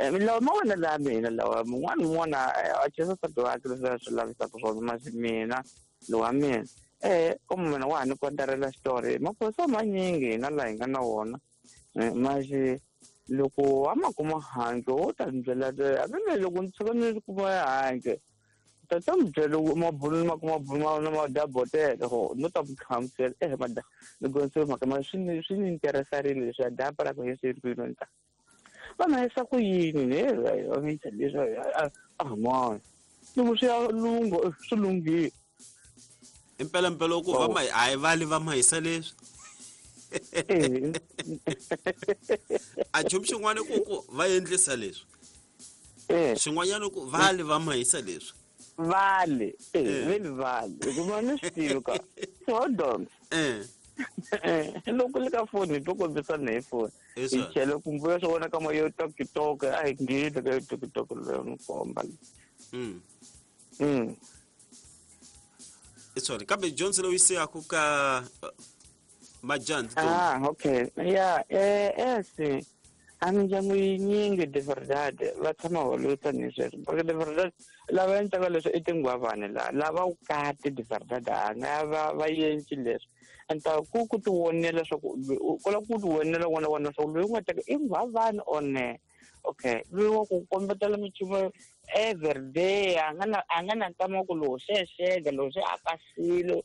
lawa mavonelo ya mina lawa mun'wana un'wana a chesa nsati wakhe leswi a swi lavisaka swona masi mina lowa mina eh como mina wa ha ni kontarela xitori maphorisa manyingi hina laha hi nga na wona masi loko a ma kuma handle wo ta ni byela hambi loko ni tshuka ni kuma handle ta ta mi byela mabulu ma kuma bulu na ma dabotela ho no ta ku hlamusela eh mada loko se mhaka ma swi ni swi ni interesarile leswi a dapa ra ku hi swi ri ta va ma yisa ku yini ne va mi leswi a mani loko swi ya lungho swi lunghile. Impela mpela ku va ma a hi vali va ma hisa leswi a nchumu xin'wana ku ku va endlisa leswi xin'wanyana ku vali va ma hisa leswi vale eh veli vale hikuva ni swi tivi ka hold on eh loko le ka foni to kombisana hi foni hi chele kumbe swi vona ka ma yo TikTok a hi ngheni ka yo TikTok leyo ni komba. Mm. Mm. Sorry, kambe Johnson loyi se ya ku ka Majanzi Ah, okay. Ya, eh eh a mindyangu yinyingi de verdade va tshama holota ni sweswo porque de verdade lava endlaka leswi i tinghwavani laha lava vukati de verdade a nga va va endli leswi and ku ku ti vonela leswaku ku lava ku ti vonela wona wona leswaku loyi u nga teka i nghwavani or ne okay loyi wa ku kombetela minchumu every day a nga na a nga na nkama wa ku lowu se xeka lowu se a pasile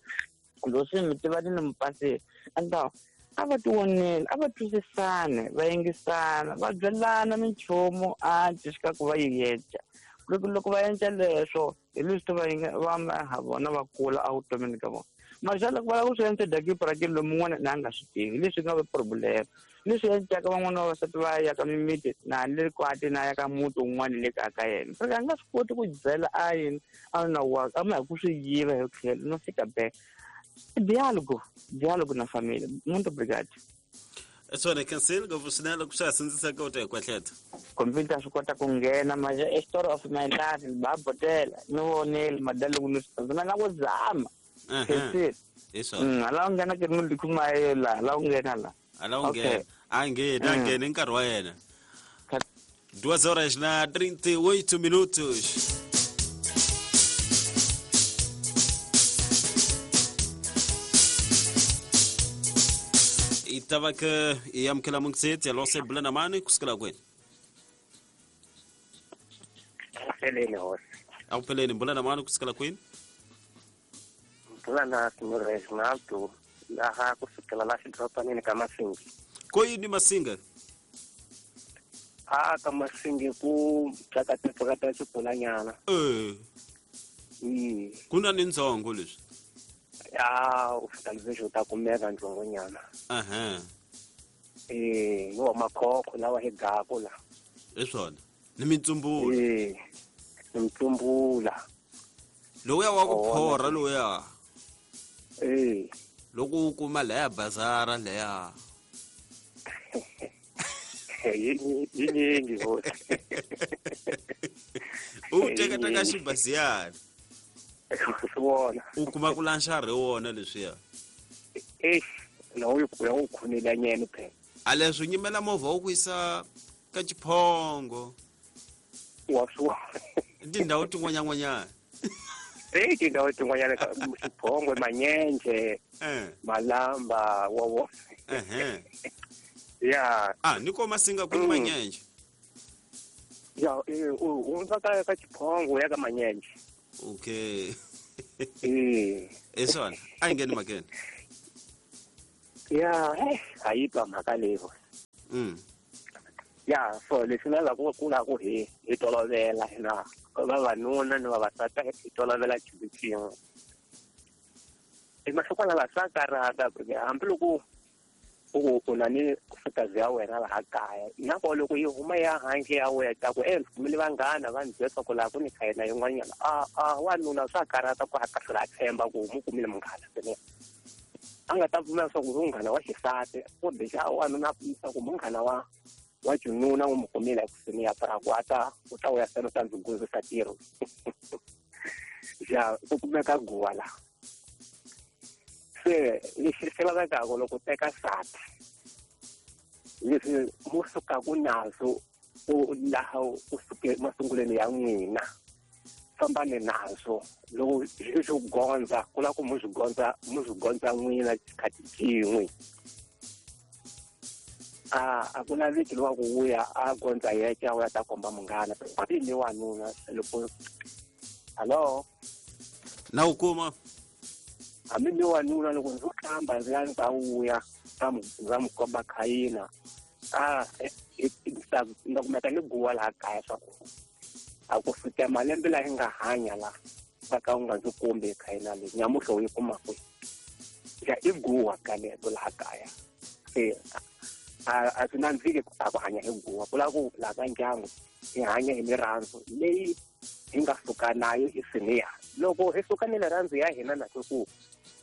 lowu se mi tiva ni mi pasile and a va ti vonela a va twisisane va yingisana va byelana minchumu a xi ku va yi endla loko loko va endla leswo hi leswi va va ha vona va kula evutomini ka vona mara loko va lava ku swi endla daki lomu un'wana na a nga swi tivi leswi nga va problem leswi endlaka van'wana va vavasati va ya ka mimiti na le kwati na ya ka muti wun'wana le kaya ka yena porque a nga swi koti ku byela a yini a na wa a ma hi ku swi yiva hi tlhelo no fika back diálogo diálogo na família. Muito obrigado. Swona cancel ngopfu swinene loko swa ha sindzisaka u ta hi kwahleta computer swi kota ku nghena manje a story of my life va botela ni vonile madalo ni swi na ku zama hi swona ala u nghena ke ni kuma la la u nghena la ala u nghena a nghena a nghena nkarhi wa yena duas horas na trinta e oito minutos. Tava que yamkela mungset ya lose bulana mani kusikela kwenu Peleni hosi awupheleni bulana mani kusikela kwenu Bulana Senhor Reginaldo laha kusukela la xidorobanini ka Masingi koyini Masinga a ka Masingi ku tsakatepfukata xibulanyana eh mm kuna ni ndzongo leswi ya u fika leswi u ta kumeka ndzongonyana aha eh yo makhokho lawa hi gako la hi swona ni mitsumbula eh ni mitsumbula lowuya wa ku phorha lowuya eh loko u kuma leya bazara leya yinyingi hosi u teka teka xibaziyana swona u kuma ku lanxa ri wona leswiya eh na u ku u khunela nyene phela a leswi nyimela movha wu ku yisa ka Xiphongo wa swa tindhawu tin'wanyan'wanyana eh tindhawu tin'wanyana ka Xiphongo Manyenje eh Malamba wa wo eh ya ah ni ko Masinga ku Manyenje ya eh u ndza ka ka Xiphongo ya ka Manyenje okay eh esona a ngeni makene ya eh ayitwa mhaka leyo mm ya so leswi na la ku ku la ku hi hi tolovela na vavanuna ni vavasati hi tolovela xilo xin'we emahlokwana la swa karhata porque hambiloko u u na ni fikazi ya wena laha kaya na ko loko yi huma ya handle ya wena ta ku eh kumele vanghana va ndzi byela ku laha ku ni khayena yin'wanyana a a wanuna swa karhata ku a hlula a tshemba ku mu kumile munghana swinene a nga ta pfumela swa ku munghana wa xisati kumbe xa wanuna a pfumisa ku munghana wa wa xinuna u mu kumile ekusuhi ya ku a ta u ta vuya seno ta ndzi gundzisa ntirho ja ku kumeka guwa laha se lexi xi lavekaka loko teka nsati leswi mu sukaka nazo u laha u suke masungulweni ya n'wina fambani nazo loko swi swi gondza ku lava ku mu swi gondza mu swi gondza n'wina xikhathi xin'we a a ku laveki lowa ku vuya a gondza yexe a vuya ta komba munghana ni wanuna loko hallo na u kuma hambi ni wanuna loko ndzi hlamba ndzi ya ndzi ta vuya ndza mu komba khayina a ndza kumeka ni guwa laha kaya swa ku a ku fika malembe laha yi nga hanya la va ka u nga ndzi kombi khayina leyi nyamuhla u yi kuma kwihi ya i guwa kaleto laha kaya se a a swi nandziki a ku hanya hi guwa ku lava ku laha ka ndyangu hi hanya hi mirirhandzu leyi hi nga suka nayo i siniya loko hi suka ni rirhandzu ya hina na ku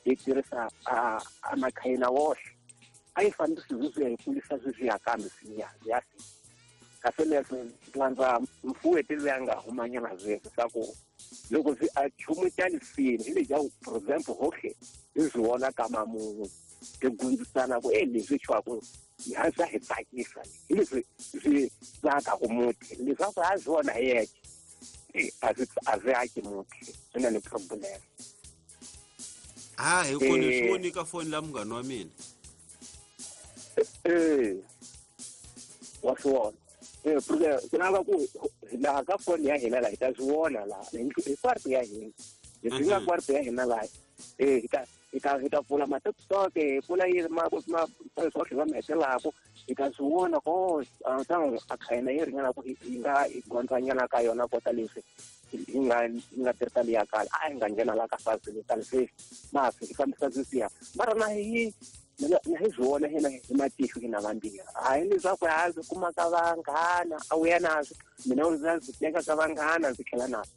hi tirhisa a a makhayina woxe a yi fanele sweswi hi kulisa sweswi ya kambe siniya ya kasi leswi landza mfuweti loyi a nga humanyana sweswi swa ku loko swi a chumu xa lisini hi lexa for example hohle hi swi vona ka mamun'we hi gundzisana ku e leswi xwaku ha swa hi tsakisa hi leswi swi tsakaku muti leswaku a swona hi yexe a swi a swi aki muti swi na ni problem. Ah, hi kona swi voni ka foni la munghana wa mina. Eh wa swi vona eh porque ku lava ku laha ka foni ya hina laha hi ta swi vona laha hi kwarto ya hina leswi nga kwarto ya hina laha eh hi ta hi ta hi ta pfula ma-TikTok hi pfula yini ma ma swohle va mi hetelaka hi ta swi vona ko ntango a khayina yi ringana ku hi nga hi gondzanyana ka yona kota leswi hi nga hi nga tirhisa liya kala a hi nga nghena la ka facilitani sweswi ma hi fambisa sweswiya mara na hi na hi swi vona hina hi matihlo hina vambirhi hayi leswaku ha swi kuma ka vanghana a wu ya naswo mina u ndzi swi teka ka vanghana ndzi tlhela naswo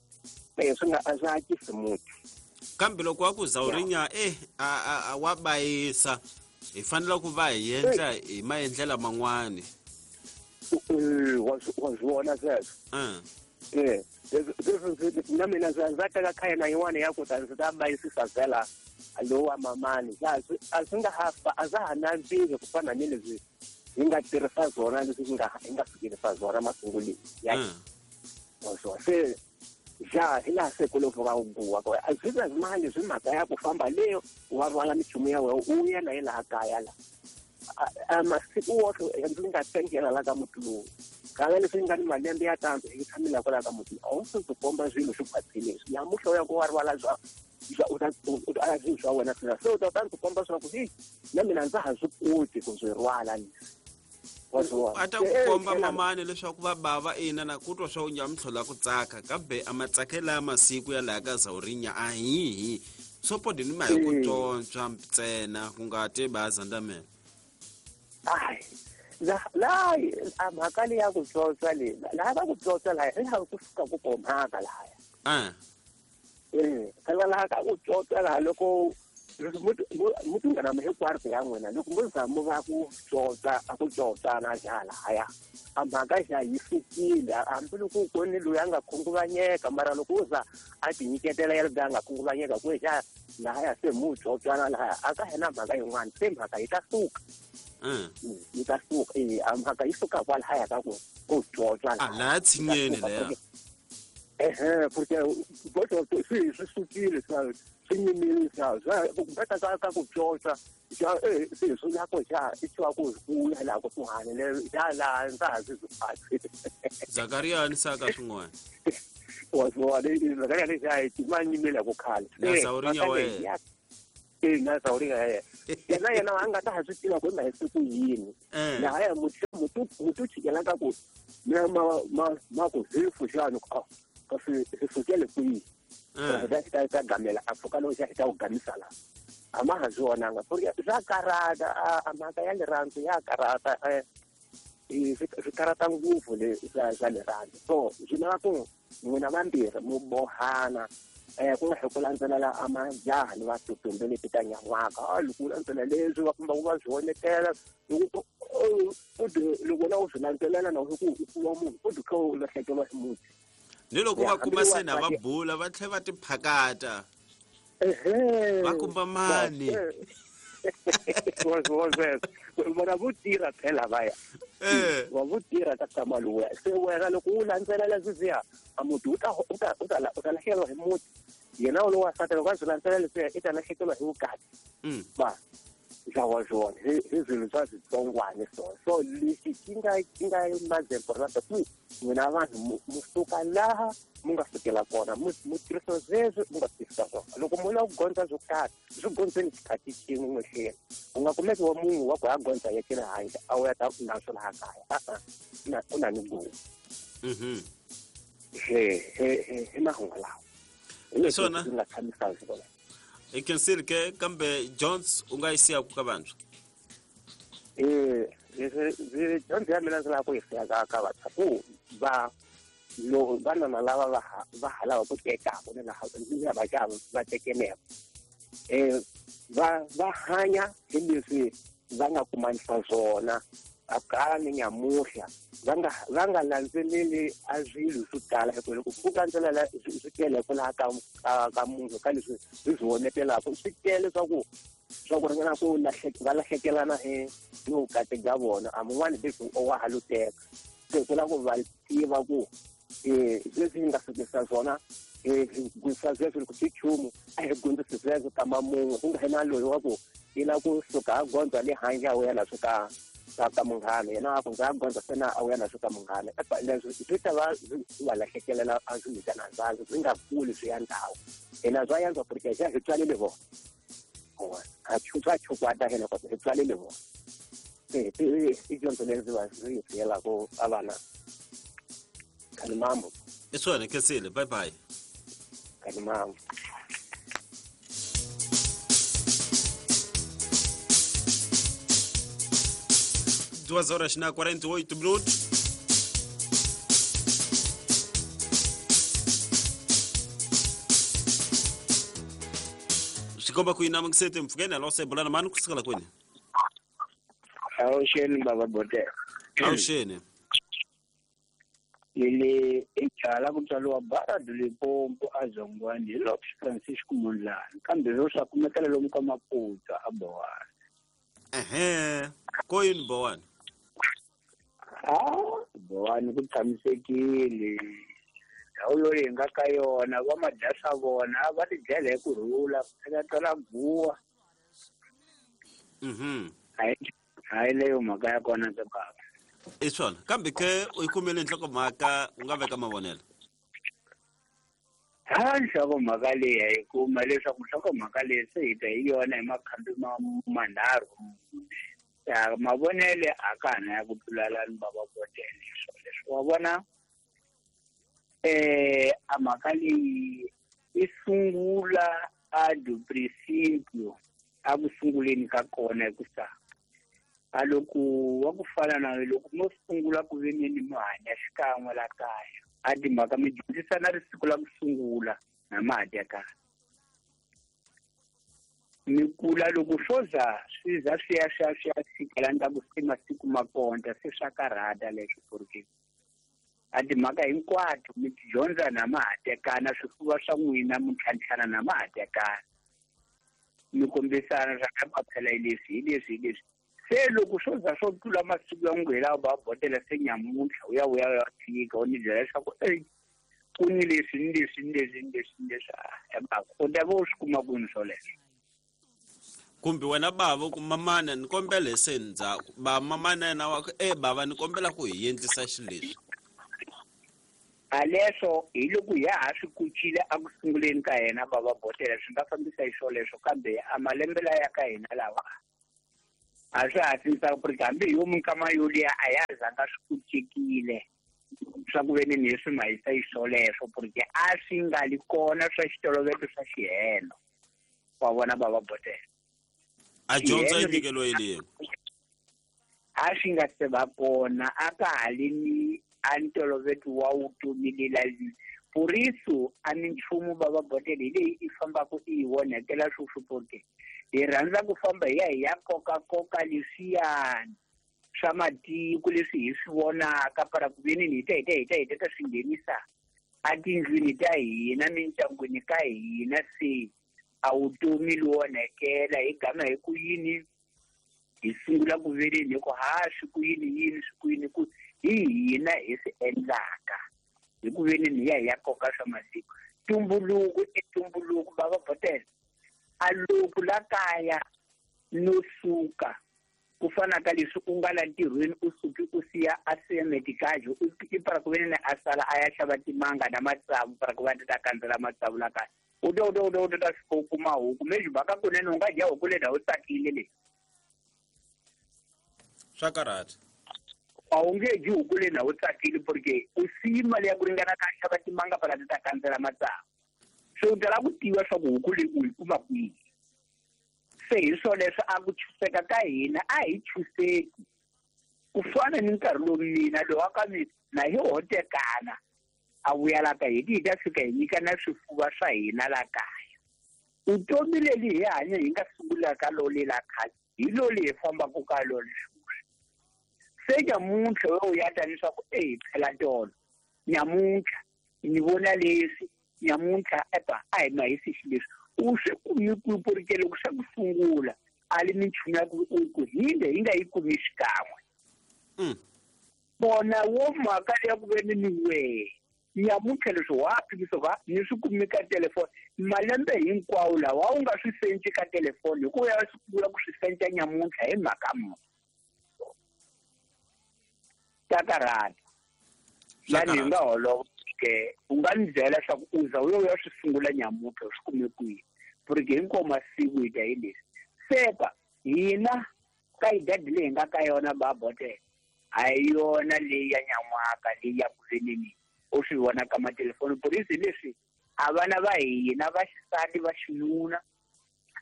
e swi nga a swi akisi muti. Kambe loko wa ku Zawurinya eh a a wa bayisa hi fanele ku va hi endla hi maendlela man'wani. Eh wa wa swi vona sweswo. Eh leswi na mina ndza ndza teka khayena yin'wana ya ku ta ndzi ta bayisisa vhela lowa mamani a swi nga ha a swa ha nandziki ku fana ni leswi hi nga tirhisa swona leswi hi nga hi nga fikelisa swona masunguleni ya wa se ja hi laha se ku loko va guwa ko a swi nga mali swi mhaka ya ku famba leyo wa rhwala minchumu ya wena u ya na yi laha kaya la a masiku woxe ndzi nga tengela la ka muti lowu kala leswi nga ni malembe ya tano hi tshamela kwala ka muti a wu swi ndzi komba swilo swi khwatsile leswi namuntlha u ya ku wa rhwala swa u ta u ta swilo swa wena swina se u ta ta ndzi komba swa ku hi na mina ndza ha swi koti ku swi rhwala leswi. A ta ku komba mamani leswaku va bava ina na ku twa swa u nyamutlhola ku tsaka kambe a matsakela ya masiku ya laha ka Zawurinya a hihi sopodi ni ma hi ku tsontswa ntsena ku nga te bazandamela. Ai la la a mhaka leyi ya ku tsontswa leyi laha va ku tsontswa laha hi laha ku suka ku ko mhaka lahaya. Eh eh phela laha ka ku tsontswa laha loko muti nga na hinkwaro ya n'wina loko mo za mo va ku tsotsa a ku tsotsana xa lahaya a mhaka xa yi sukile hambi loko ku ni loyi a nga khunguvanyeka mara loko u za a tinyiketela ya loyi a nga khunguvanyeka ku xa lahaya se mu tsotsana lahaya a ka hina mhaka yin'wana se mhaka yi ta suka yi ta suka e a mhaka yi suka kwalahaya ka ku ku tsotsa a laha tshinyeni leya ehe porque boto swi swi sukile swa swi nyimile swa swa ka ka ka ku tsotsa xa eh swi swi la ko xa i tswa ku ku ya la ku kuhane le ya la ndza ha swi phatsi Zakaria ni saka swin'wana wa swa le Zakaria le xa i ma nyimela ku khale na Zawurinya we eh na Zawurinya ye yena yena a nga ta ha swi tiva ku na hi siku yini laha ya mutu mutu mutu chikela ka ku mina ma ma ma ku hefu xana ku kasi hi sukele kwihi ta ta ta gamela a pfuka lowu xa ta ku gamisa la a ma ha swi vonanga porque swa karata a mhaka ya rirhandzu ya karata swi karata ngopfu le swa swa rirhandzu so swi lava ku n'wina vambirhi mu bohana eh ku nga hi ku landzelela a majaha ni vatutumbe leti ta nyan'waka a loko u landzela leswi va kumba ku va swi vonetela loko u loko na u swi landzelela na u ku u kuma munhu u dikha u lahlekeriwa hi muti ni loko va kuma se na va bula va tlhela va tiphakata va kumba mani vona vo tirha phela va ya va vo tirha ka tshama lowuya se wena loko u landzelela sweswiya a muti u ta u ta u ta u ta lahlekeriwa hi muti yena lowu wansati loko a swi landzelela leswiya i ta lahlekeriwa hi vukati va xa wa swona hi hi swilo swa switsongwana swona so lexi xi nga xi nga mazemporata ku n'wina vanhu mu suka laha mu nga sukela kona mu mu tirhisa sweswo mu nga tirhisa swona loko mu lava ku gondza swo karhi swi gondzeni xikhathi xin'we n'wexeni u nga kumeki wa munhu wa ku ya gondza ya xi le handle a wu ya ta na swo laha kaya a-a na u na ni gowu he he hi mahungu lawa hi leswi Swona. swi nga tshamisa swona. Hi khensile ke kambe Jones u nga yi siyaku ka vantshwa eh leswi dyondzo ya mina ndzi lava ku yi siya ka ka vantshwa ku va lo vanana lava va ha va ha lava ku tekaku ni laha ni lava va va tekeneke eh va va hanya hi leswi va nga kumanisa swona A kala ni nyamuhla va nga va nga landzeleli a swilo swo tala hi ku loko ku landzelela swi tele kwalaha ka ka munhu ka leswi swi swi vonetelaka swi tele swa ku swa ku ringana ku va lahlekelana hi ni vukati bya vona a mun'wani leswi wa ha lo teka se ku lava ku va tiva ku leswi hi nga fikisa swona hi gwisa sweswo loko swi nchumu a hi gondzisi sweswo kamba mun'we ku nga hi na loyi wa ku i lava ku suka a gondza le handle a wela swi ka ka munghana yena a ku ndza gondza sena a wela swi ka munghana leswi swi ta va swi va lahlekelela a swi nyikana ndzhaku swi nga kuli swi ya ndhawu hina swa yantswa porque xa hi tswalile vona a swa chukwata hina kota hi tswalile vona se i dyondzo leyi ndzi va ndzi yi byelaka a vana khani mambo i swona khensile bye bye khani mambo. Duas horas na quarenta e oito minutos. Xikomba ku yina mukisete mpfukeni alo sebulana mani kusukela kwini? Awuxeni baba Botela. Awuxeni. Leli ijala ku tswariwa Barad Limpopo a Zongwani hi Lopes Francisco Mondlane kambe ro swa kumekela lomu ka Maputo a Bowani. Ehe, ko yini Bowani? Ah, Bowani ku tshamisekile. Ndhawu yo leyi nga ka yona va madya swa vona va ti dlela hi ku rhula eka twala guwa. Mhm. Hayi hayi leyo mhaka ya kona ke baba. I swona kambe ke u yi kumele nhlokomhaka u nga veka mavonelo. Ha nhlokomhaka leyi hi kuma leswaku nhlokomhaka leyi se hi ta hi yona hi makhambi ma manharhu. Ya mavonele a ka ha na ya ku tlulala ni baba Botela swoleswo wa vona eh a mhaka leyi i sungula a do princípio a ku sunguleni ka kona hi ku sa a loko wa ku fana na loko mo sungula ku ve ni mi hanya xikan'we la kaya a timhaka mi dyondzisana risiku la ku sungula na ma ha tekana mi kula loko swo za swi za swi ya swi ya swi ya fika la ni ta ku se masiku ma konta se swa karhata leswo porque a timhaka hinkwato mi ti dyondza na ma ha tekana swifuva swa n'wina mi ntlhantlhana na ma ha tekana mi kombisana swa ka phela hi leswi hi leswi hi leswi se loko swo za swo tlula masiku ya n'wi lawa va botela se nyamuntlha u ya u ya ya fika u ni byela leswaku ey ku ni leswi ni leswi ni leswi ni leswi ni leswi a u ta va u swi kuma kwini swoleswo kumbe wena bava ku mamana ni kombela hi se ndzhaku ba mamana yena wa ku e bava ni kombela ku hi endlisa xileswi a leswo hi loko ya ha swi kucile a ku sunguleni ka yena bava botela swi nga fambisa hi swoleswo kambe a malembe laya ka hina lawa a swi ha sinisa ku ri hambi hi yo minkama yoliya a ya zanga swi kucekile swa ku ve ni ni swi mahisa hi swoleswo porque a swi nga li kona swa xitoloveto swa xihelo wa vona bava botela a dyondza yi nyikeliwe yini a swi nga se va kona a ka ha li ni a ntoloveto wa vutomi lela por isso a ni nchumu bava botela hi leyi i fambaka i yi onhetela sweswi porque hi rhandza ku famba hi ya hi ya kokakoka leswiyani swa matiko leswi hi swi vonaka para ku ve ni hi ta hi ta hi ta hi ta ta swi nghenisa etindlwini ta hina mindyangwini ka hina se a vutomi lowu onhekela hi gama hi ku yini hi sungula ku veleni hi ku ha swi ku yini yini swi ku yini ku hi hina hi swi endlaka hi ku veni ni ya hi ya koka swa masiku tumbuluko i tumbuluko bava botela a loko la kaya no suka ku fana ka leswi u nga la ntirhweni u suki u siya a siya medikajo i para ku veni a sala a ya xava timanga na matsavu para ku va ta kandzela matsavu la kaya u ta u ta u ta u ta fika u kuma huku mexi mhaka kunene u nga dya huku leyi u tsakile leyi swa karhata a wu nge dyi huku leyi na u tsakile porque u siyi mali ya ku ringana ka xava timanga para ti ta kandzela matsavu se u tala ku tiva swa ku huku leyi u yi kuma kwihi se hi swoleswo a ku chuseka ka hina a hi chuseki ku fana ni nkarhi lowu mina lowu wa ka mina na hi hotekana a vuya la ka hina hi ta fika hi nyikana swifuva swa hina la kaya vutomi leli hi hanya hi nga sungula ka lole la khale hi loli hi fambaka ka lole sweswi Se nyamuntlha we u ya ta leswaku eyi phela tolo nyamuntlha ni vona leswi nyamuntlha epa a hi mahisi xileswi u swi kumi ku porque loko swa ku sungula a li minchumu ya ku ku hinde hi nga yi kumi xikan'we. Bona wo mhaka ya ku ve ni ni wehe nyamuntlha leswi wa phikisa va ni swi kumi ka telefoni malembe hinkwawo lawa u nga swi senci ka telefoni hikuva ya sungula ku swi senca nyamuntlha hi mhaka muni ta karhata lani hi nga holova ke u nga ni byela leswaku u za u yo ya swi sungula nyamuntlha u swi kume kwihi porque hinkwawo masiku hi ta hi leswi sepa hina ka idadi leyi hi nga ka yona babotela a hi yona leyi ya nyan'waka leyi ya ku veneni u swi vona ka matelefoni polisi leswi a vana va hina va xisati va xinuna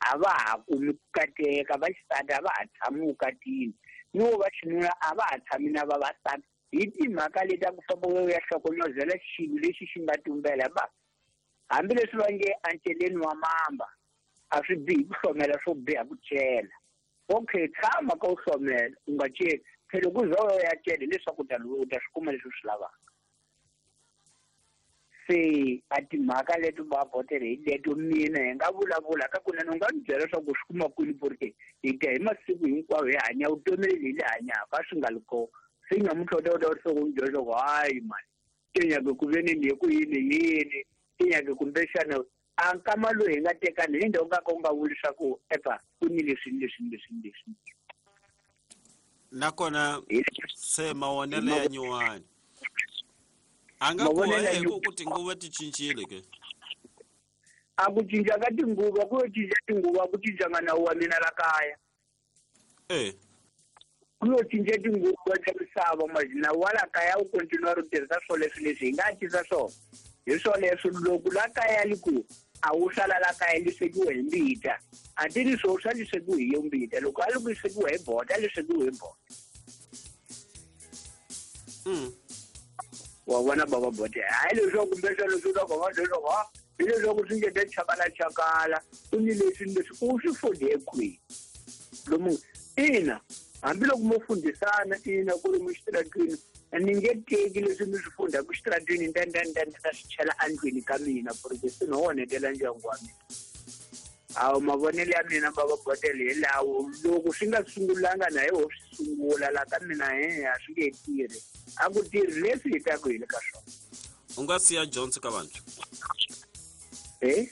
a va ha kumi ku kateka va xisati a va ha tshami vukatini ni wo va xinuna a va ha tshami na vavasati hi timhaka leti a ku famba u ya hlokomozela xilo lexi xi nga tumbela ba hambileswi va nge enceleni wa mamba a swi bihi ku hlomela swo biha ku cela. Okay, tshama ka u hlomela u nga celi phela ku za u ya cela leswaku u ta u ta swi kuma leswi u swi lavaka. Se a timhaka leti va botele hi leto mina hi nga vulavula ka kunene u nga ni byela leswaku u swi kuma kwini porque hi ta hi masiku hinkwawo hi hanya vutomi lebyi hi le hanyaka a swi nga li kona. Se nyamuntlha u ta u ta u ni byela leswaku hayi mani ti nyake ku ve ni hi ku yini yini ti nyake kumbexana a nkama lowu hi nga tekani hi ndhawu nga ka u nga vuli leswaku epa ku ni leswi ni leswi ni leswi ni leswi. Nakona se mavonelo ya nyuwani a nga ku hi ku tinguva ti cincile ke a ku cinca ka tinguva ku yo cinca tinguva ku cincanga nawu wa mina la kaya eh ku yo cinca tinguva ta misava nawu wa la kaya wu continue ri tirhisa swo leswi leswi hi nga cinca swona hi swoleswo loko la kaya li ku a wu sala la kaya li swekiwe hi mbita a ti ri swo swa li swekiwe hi yo mbita loko a li ku swekiwe hi bota li swekiwe hi bota. Mm. Wa vona baba bote hayi leswaku kumbexana leswi u ta ku va leswaku ha hi leswaku swi nge te chakala chakala ku ni leswi ni leswi u swi funde kwihi lomu ina hambiloko mo fundisana ina ku ri muxitaratwini ni nge teki leswi mi swi fundaka xitaratwini nda nda nda nda swi chela endlwini ka mina porque swi no onhetela ndyangu wa mina. Awu mavonelo ya mina baba botele hi lawo loko swi nga sungulanga na hi ho swi sungula la ka mina he a swi nge tirhi a ku tirhi leswi hi taku hi le ka swona. U nga siya dyondzo ka vantshwa eh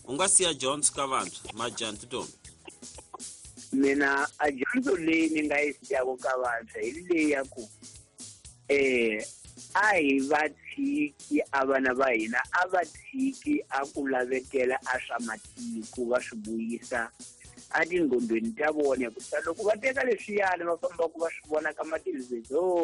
u nga siya dyondzo ka vantshwa majani tintombi? Mina a dyondzo leyi ni nga yi siyaka ka vantshwa hi leyi ya ku eh a hi va tshiki a vana va hina a va tshiki a ku lavetela a swa matiko va swi vuyisa a tinghondweni ta vona hikusa loko va teka leswiyani va fambaka va swi vona ka mathelevhizoni